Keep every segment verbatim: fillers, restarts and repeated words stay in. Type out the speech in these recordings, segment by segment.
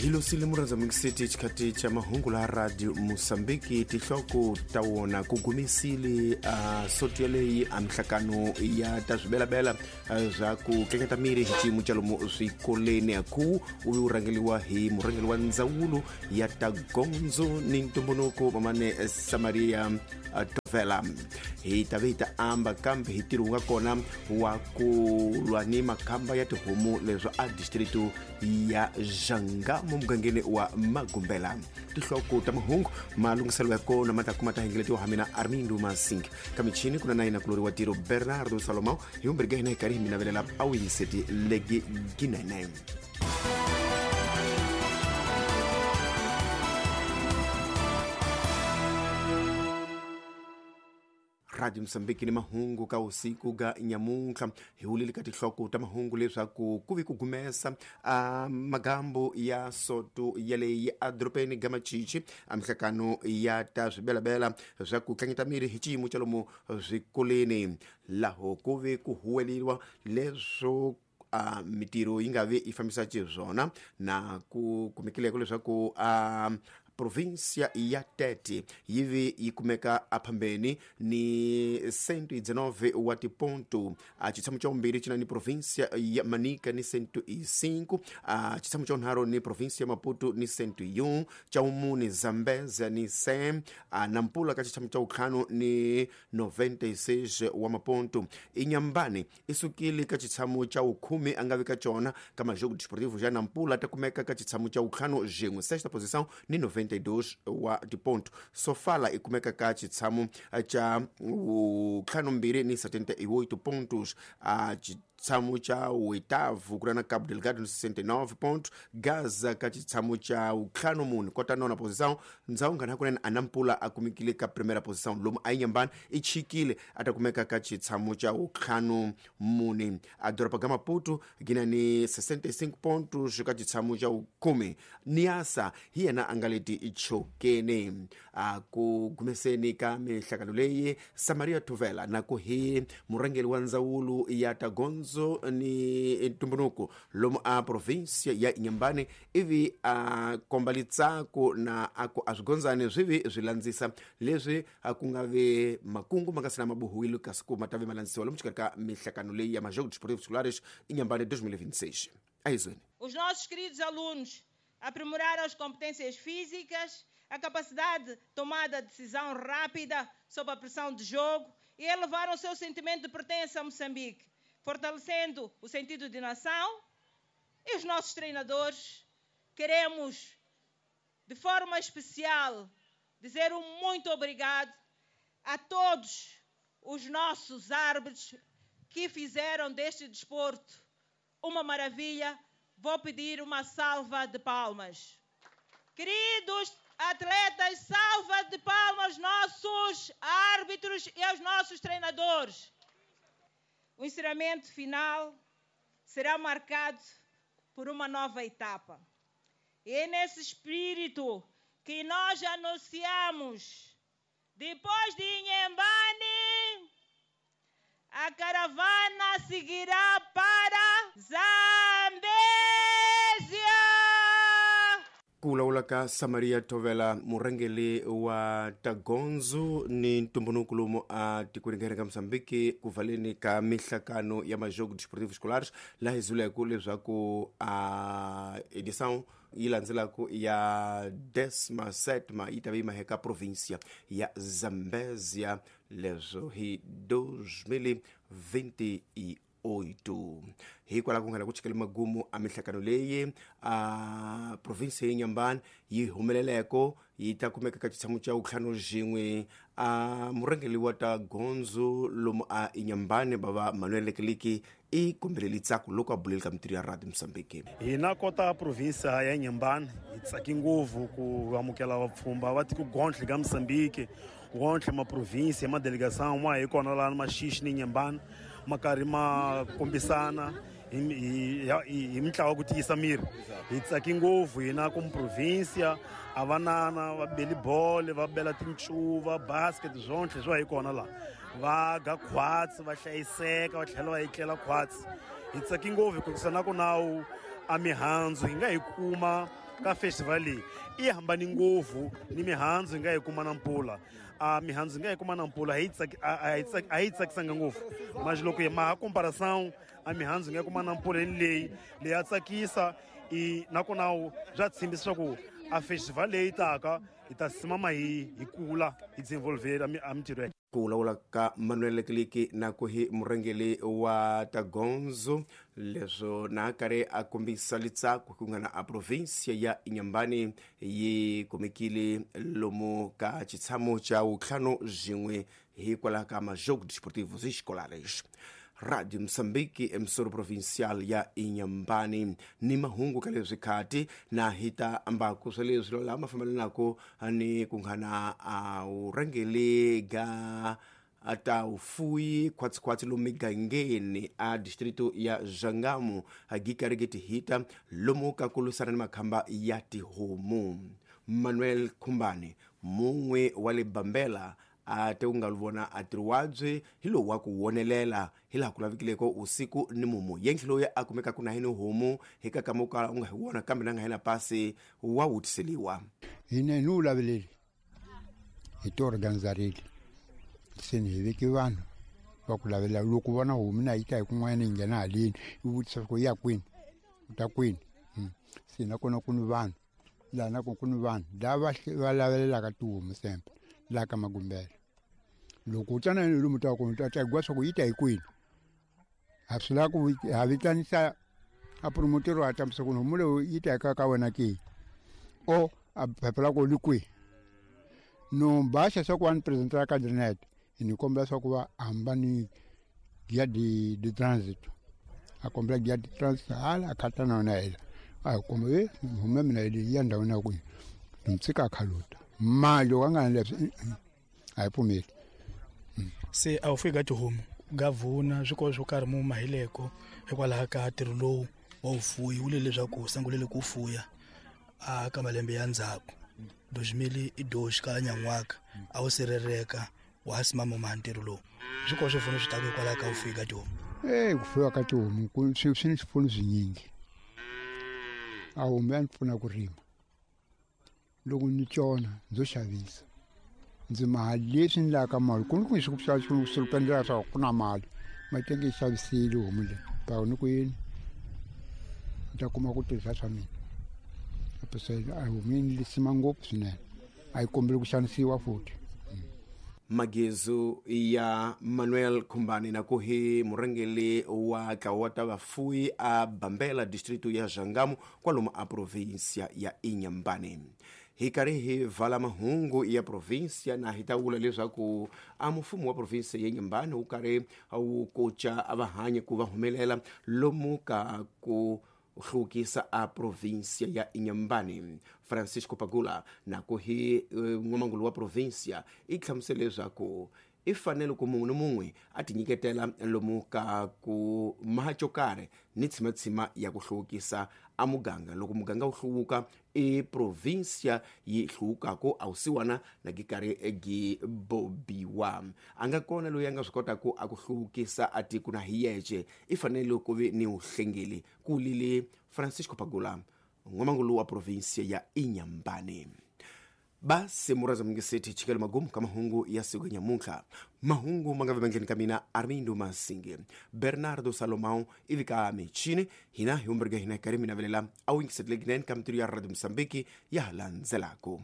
Hilosile murhandza City xikati cha mahungu la Radio Mozambique tihloko ta wona ku gumisile a soto leyi a mihlakano ya ta swibelabela swa ku tleketa miri hi xiyimo xa lomu swikoleni ku u vi u rhangeliwa hi murhangeri wa ndzawulo ya ta gondzo ni ntumbuluko mamane Samaria Tovela. Hi ta vi ta amba kambe hi ntirho wu nga kona wa ku lwa ni makhamba ya tihomu leswi a distrito ya Janga mugangeni wa Magumbela. Tihloko ta mahungu malunghiselo ya kona ma ta kuma ta hengeletiwa ha mina Armindo Masing kamichini kuna na ina kulori wa tiro Bernardo Salomão hi vumbirhi ka hina hi karhi hi mi navelela a wu yingiseti legi ginene. Radio Mozambique ni mahungu ka usiku ga nyamuntlha hi wulile ka tihloko ta mahungu leswaku ku vi ku gumesa a magambo ya soto yaleyi a doropeni ga Machichi a mihlakano ya ta swibelabela swa ku tlangeta miri hi xiyimo xa lomu swikoleni laho ku vi ku huweleriwa leswo a mitirho yi nga vi yi fambisa xiswona na ku kumekileko leswaku a província ya Tete yi vi yi kumeka aphambeni ni cento e dezenove wa tiponto. A xitshamo xa vumbirhi xi na ni província ya Manica ni cento e cinco, a xitshamo xa vunharhu ni província ya Maputo ni cento e um, xa vumune Zambezia ni cem, a Nampula ka xitshamo xa vuntlhanu ni noventa e seis wa maponto. Inhambane i sukile ka xitshamo xa vukhume a nga vi ka xona ka majogo desportivo xa Nampula ta kumeka ka xitshamo xa vuntlhanu xin'we sexta posição ni noventa e dois wa tiponto. Sofala i kumeka ka xitshamo xa vuntlhanu mbirhi ni setenta e oito pontos, a xitshamo xa oitavo ku ri na Cabo Delgado ni sessenta e nove pontos, Gaza ka xitshamo xa vuntlhanu mune kota nona posição. Ndzhawu ngana kunene a Nampula a kumekile ka primeira posição lomu a Inhambane i chikile a ta kumeka ka xitshamo xa vuntlhanu mune. A doroba ga Maputo gina ni sessenta e cinco pontos ka xitshamo xa vukhume. Niassa hi yena a nga leti chokeni. A ku gumeseni ka mihlakano leyi Samaria Tovela na ku hi murhangeri wa ndzawulo ya ta gondzo ni ntumbuluko lomu a província ya Inhambane ivi a komba litsako na a ku a swigondzani swi vi swi landzisa leswi a ku nga vi makungu ma nga si na mabohiwile kasi ku ma ta vi ma landzisiwa lomu xikarhi ka mihlakano leyi ya Majogos Desportivos Escolares Inhambane dois mil e vinte e seis. A izweni. Os nossos queridos alunos aprimoraram as competências físicas, a capacidade de tomada de decisão rápida sob a pressão de jogo e elevaram o seu sentimento de pertença a Moçambique, fortalecendo o sentido de nação. E os nossos treinadores, queremos, de forma especial, dizer um muito obrigado a todos os nossos árbitros que fizeram deste desporto uma maravilha. Vou pedir uma salva de palmas. Queridos atletas, salva de palmas aos nossos árbitros e aos nossos treinadores. O encerramento final será marcado por uma nova etapa. E é nesse espírito que nós anunciamos, depois de Inhambane, a caravana seguirá para Zambésia! Ku vulavula ka Samaria Tovela murhangeri wa ta gondzo ni ntumbuluko lomu a tikweni ra ka Mozambique ku valeni ka mihlakano ya Majogos Desportivos Escolares laha hi zuleke leswaku a edição yi landzelaka ya décima sétima yi ta va yi maheka província ya Zambésia leswo hi dois mil vinte e oito. Hikwalaho ku nga la ku chikela magumu a mihlakano leyi a província ya Inhambane yi humeleleko yi ta kumeka ka xitshamo xa vuntlhanu xin'we. A murhangeri wa ta gondzo lomu a Inhambane bava Manuel Lekeliki i kombelele ntsako loko a buleli ka mitirho ya Radio Mozambique. Hina kota província ya Inhambane hi tsaki ngopfu ku amukela vapfhumba va tiko gontlhe ka Mozambique, gontlhe ma província ma delegação ma hi kona laha Maxixi ni Inhambane ma karhi ma kombisana hi hi mintlawa ku tiyisa miri. Hi tsaki ngopfu hina ku província a vanana va beli bolo va bela tincuva basket swontlhe swa hi kona laha va ga khwatsi va hlayiseka va tlhela va etlela khwatsi. Hi tsaki ngopfu hikuva na ku nawu a mihandzu hi nga hi kuma ka festival leyi i hambani ngopfu ni mihandzu hi nga yi kuma na mpfula. A mihandzu hi nga yi kuma na mpfula a yi a yi tsakisanga ngopfu mas loko hi maha comparação a mihandzu hi nga yi kuma na mpfula ni leyi leyi ya tsakisa i nakona bya tshembisa swa ku a festival leyi taka hi ta simama hi hi kula hi desenvolver a mintirho ya ku vulavula ka Manuel Kiliki na ku hi murhangeri wa Tagonzo leswo na karhi a kombisa litsako ku nga na a provinsia ya Inhambane yi kumekile lomu ka xitshamo xa vutlhanu byin'we hikwalaho ka Majogos Desportivos Escolares. Radio Moçambique emissora provincial ya Inhambane ni mahungu ka leswi khati na hita ambaku swa leswi lama fambelanaka ni ku nghana a urhangeli ga ata ufuyi khwatsi-khwatsi lomu migangeni a distrito ya Jangamo gikarigeti hita lomu ka ku lwisana ni makhamba ya tihomu. Manuel Khumbane mun'we wa le Bambela a te u nga vona a tiriwabye hi lowu wa ku wonelela hi laha ku lavekileko usiku ni mumu yentlhe loyi a kumekaka na hini homu hi ka kama u kala u nga hi wona kambe na nga hina pasi wa wutiseliwa. Hina ni wu laveleli hi ti organizarile se ni hi veke vanhu va ku lavelela loko vona homu na yi ta hi kun'wana yi nghena haleni yi vutisa ku ya kwini u ta kwini se nakona ku ni vanhu laha nakona ku ni vanhu lava va lavelelaka tihomu sempe laha ka Magumbela. Loko u tsana lomu ta kona ta ta gwa swa ku yi ta hi kwini ha swi lava ku ha vitanisa a promotero a tambisa ku homu leyi yi ta ka ka wena ke o a phepha la ko li kwihi no baxa swa ku va ni presentela ka caderneta ni kombela swa ku va hamba ni guia de de trânsito a kombela guia de trânsito hala a khata na yona hela a komba e homu ya mina yi ya ndhawini ya kwihi ni tshika a khaluta mali loko a nga na leswi a yi pfumeli. Se a wu fiki ka tihomu gavhuna swikolo swo karhi mu mahileko hikwalaho ka ntirho lowu wa vufuwi wu le leswaku sungulele ku fuya a ka malembe ya ndzhaku dois mil e dois ka nyan'waka a wu sirheleka wa ha simama ma ntirho lowu swikolo swi pfuno swi taka hikwalaho ka vufuwi ka tihomu. E ku fuwa ka tihomu ku swi swi ni swipfuno swinyingi. A homu ya ni pfuna ku rima loko ni tsona ndzo xavisa ndzi mali leswi ni lavaka mali ku ni ku swi ku swi ku endlela swa ku na mali matenge yi xavisile homu leyi pa ni ku yini ni ta kuma ku tirhisa swa mina a homu yi ni sima ngopfu swinene a yi kombeli ku xanisiwa futhi. Magezu ya Manuel Khumbane na ku hi murhangeri wa ntlawa wa ta vafuwi a Bambela distrito ya Jangamo kwalomu a provinsia ya Inhambane. Hi karhi hi vala mahungu ya provinsia na hi ta vula leswaku a mfumo wa provinsia ya Inhambane wu karhi wu koca a vahanyi ku va humelela lomu ka ku hluvukisa a provinsia ya Inhambane. Francisco Pagula na ku hi n'wamangulu wa provinsia i hlamusele leswaku i fanele ku munhu ni mun'we a tinyiketela lomu ka ku maha xo karhi ni tshimatshima ya ku hluvukisa a muganga. Loko muganga wu hluvuka i provinsia yi hluvukaka a wusiwana na gi karhi gi bobiwa. A nga kona loyi a nga swi kotaka a ku hluvukisa a tiko na hi yexe i fanele ku vi ni vuhlengeli ku lile Francisco Pagula n'wamangulu wa provinsia ya Inhambane. Basi muraza mingiseti chikelo magumu ka mahungu ya siku ya nyamuntlha. Mahungu ma nga vemendleni ka mina Armindo Masinge Bernardo Salomão ivi ka michini hina hi umberga hina karhi mina velela a wu yingiseteleki nene ka mintirho ya Radio Moçambique ya ha landzelaka.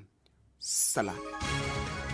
Salani.